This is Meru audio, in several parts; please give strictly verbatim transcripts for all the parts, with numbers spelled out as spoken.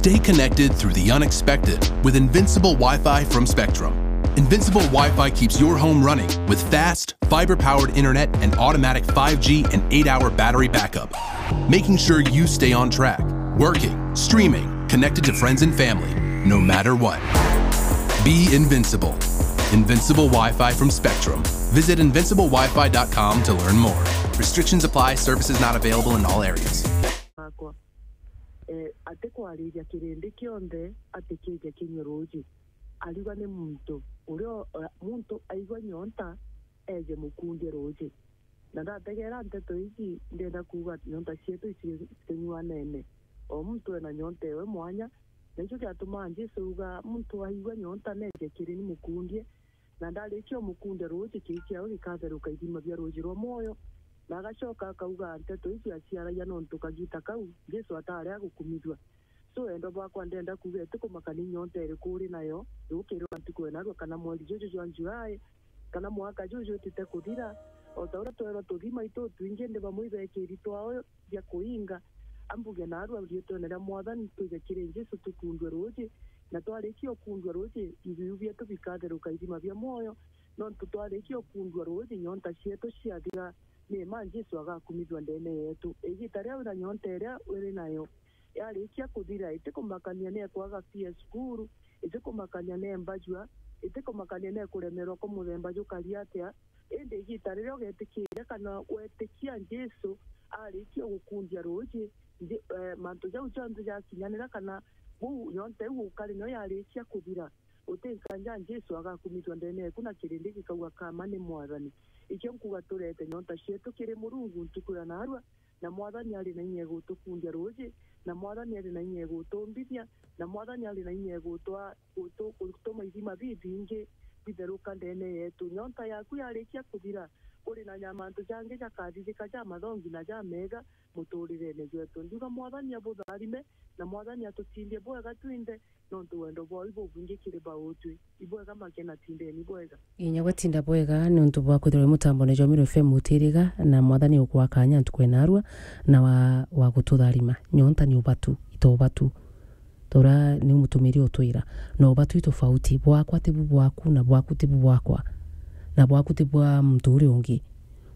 Stay connected through the unexpected with Invincible Wi-Fi from Spectrum. Invincible Wi-Fi keeps your home running with fast, fiber-powered internet and automatic five G and eight-hour battery backup, making sure you stay on track, working, streaming, connected to friends and family, no matter what. Be invincible. Invincible Wi-Fi from Spectrum. Visit invincible wi fi dot com to learn more. Restrictions apply. Services not available in all areas. Wakwa, eh, ati kwariria kirindi kionthe ati kije kinywe ruuji. Ariuga ni muntu uria o-, eh, muntu aigua nyonta eje mukundie ruuji. Na ndategeera nteto iji, ndenda kuuga nyonta cietu icitinyuanene. O muntu ena nyonta ewe mwanya, na icio kiatumaa Jesu auga, "Muntu aigua nyonta neje kiri ni mukundie." Na ndarikia umukundia ruuji, kii kiawe gikatheruka ithima bia ruuji rwa mwoyo. Na agacoka akauga nteto iji aciaragia nontu kagita kau Jesu atari agukumithua. So, endwa bwakwa, ndenda kuuga, itikumakania nyonta iriku uri nayo, yukirwa ntuku ya narua, kana mweri juju jwa July, kana mwaka juju utite kuthira. O ta uria twerwa tuthima itu twingi, ndi bamwe ibekiri twao bia kuinga. Ambuge narua riitwene ria Mwathani, twije kiri Jesu tukundwe ruuji, na twarikia ukundwa ruuji, ibiu bietu bikatheruka ithima bia mwoyo, nontu twarikia ukundwa ruuji, nyonta cietu ciathira, ni ma Jesu agakumithua ndene yetu. Igita riria wina nyonta iria uri nayo, yarikia kuthira, itikumakania ni ekwaga fee ya cukuru, itikumakania ni mbajua, itikumakania ni kuremerwa kwa muthemba jukari atia, indi igita riria ugetikiria kana wetikia Jesu arikia gukundia ruuji, nji-, eh, mantu jau jonthe jakinyanira kana buu nyonta iu ukari nayo yarikia kuthira, uti nkanja Jesu agakumithua ndene eku na kirindi gikauga, "Kama ni Mwathani." Ikio nkuga turete nyonta cietu kiri Murungu ntuku ya narua, na Mwathani ari na inya egutukundia ruuji, na Mwathani ari na inya egutumbithia, na Mwathani ari na inya egutwa-, gutu-, gutuma ithima bibingi bitheruka ndene yetu. Nyonta yaku yarikia kuthira, kuri na nya-, mantu jangi jakathithika ja mathongi na ja mega muturirene jwetu. Ndiuga Mwathani abutharime, na Mwathani atutindie bwega twinthe, nontu wendo bwao ibubwingi kiri bautwi. Ibwega make na tindeni bwega. Inya gwe tinda bwega, niuntu bwa kwithirwa wi mutambone jwa Meru F M utiriga, na Mwathani ugukwa kanya ntuku ya narua, na wa, wa gututharima. Nyonta ni ubatu, ito ubatu. Tora ni mutumiri utwira, no ubatu itofauti, bwakwa tibu bwaku, na bwaku tibu bwakwa, na bwaku ti bwa muntu uria ungi.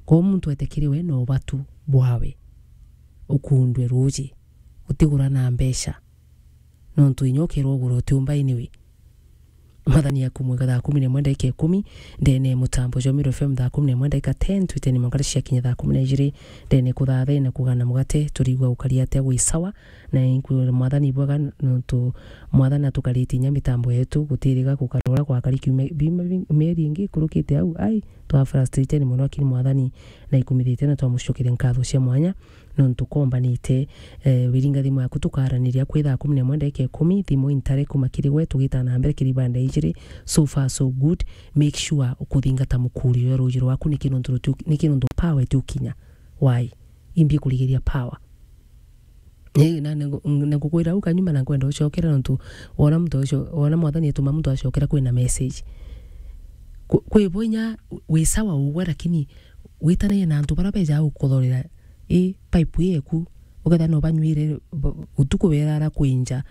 Kwou muntu etekiri we no ubatu bwawe, ukundwe ruuji, utigura na mbeca. Nontu inya ukirwa ugura utiumba anyway. Mwathani aku mwega, thaa kumi na imwe ndaika ikumi, ndene mutambo jwa Meru F M thaa kumi na imwe ndaika ten, twiteni mwanka cia kinya thaa kumi na ijiri, ndene kuthathena kugana mugate, turigwa ukari atia gwi sawa, na inkwira Mwathani bwega, nontu Mwathani atukaritie inya mitambo yetu, gutiriga gukarora gwakari kiumia, biumia bi-, mieri ingi ikurukite au, ai, twa frustrated mono, lakini Mwathani na ikumithite na twamucokeria nkatho cia mwanya. Nontu kombanite, eh, wiringa thimu yaku tukaraniria kwi thaa kumi na imwe ndaika ikumi, thimu intare kuma kiri gwe, tugita na mbere kiri banda ijiri. So far so good. Make sure ukuthingata mukuri uyo ruuji rwaku, niki nontu rutiu-, niki nontu power itiukinya. Why? Imbi kurigiria power. Eh, na, na, na ngukwira au kanyuma na nkwenda ucokera nontu wona muntu ucio, wona Mwathani atuma muntu acokera kwina message. Ku-, kwi bo inya wi sawa ugwe, lakini witanagia na antu bara beja gukuthorera. I pipe ii eku, ukethira no banyuire, b-, utuku berara kwinja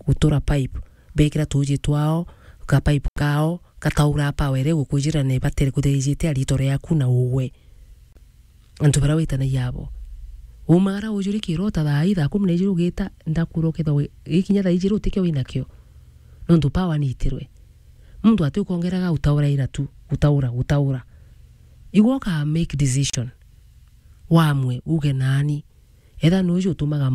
gutura pipe, bekira tuuji twao, ka pipe kao, gataura power iria igukujira na ibatere kutherijite a rito riaku na ugwe. Antu bara witanagia abo. Umagara ujuri kirota thaa ii, thaa kumi na ijiri ugita, ndakura ukethwa wi-, gikinya thaa ijiri utikio winakio. Nontu power niitirwe. Muntu ati ukongeraga utaura ira tu, utaura, utaura. Igwe uka make decision. Wamwe, uge nani. Etha nuju utumaga